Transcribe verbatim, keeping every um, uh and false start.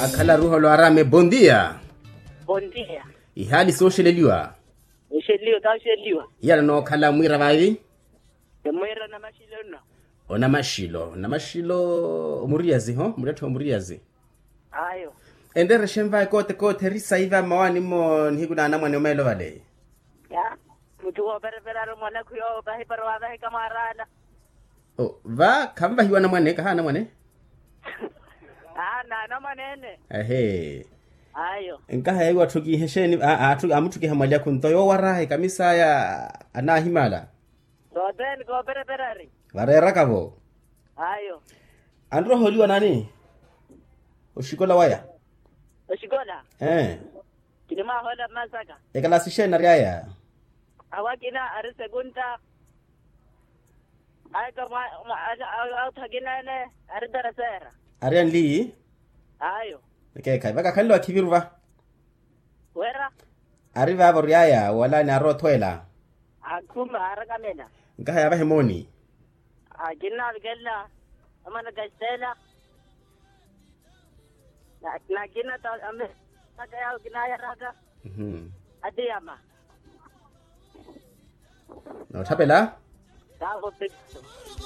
Akhala ruholo arame bondia. Bondia. Ihali sooxeleliwa. Oxeleliwa kaoxeleliwa. Iyala nookhala mwiira vaivi. Mwiira namaxilo nno. Onamaxilo namaxilo. Omuriyazi ho muriyattha omuriyazi. Ayo. Enterexenva ekoote koote eri saiva mmawaani mmo nihiku na anamwane omeelo vale. Ya. Mutthu wooperepera ari mwanakhu yoowo vahipari wavahika mwaaraala. Va khanvahiwa anamwane kaha anamwane. Aa na anamwane ene. Ehe. Ayo. Nkaha yaiwa atthukihe exeeni? Aa amuthukiha mwali akhu nto yoowo arahe kamisa aya. Anahimala. Sothene kooperepera ari. Vareeraka-vo. Ayo. Anroha oliwa nani? Oxikola waya. Oxikola. Ee. Kinimwahoola mmasaka. Ekalasi exeeni ari aya? Awo akina ari sekunta. Aika mwa- mwa- ata- a- autha akina ene. Ari tereseera. Ari anli? Ayo. Ekeekhayi vakakhanle wakhiviru va. Wira. Ari vaavo oryaya wala ni arothwela. Akhuma arakamela. Nkaha yaavahe mooni. Akinna avikelela. Amana kastela. Nakina ta ame aka yawo kinayaraka. Atiyama. Noothapela. Taavo pekito.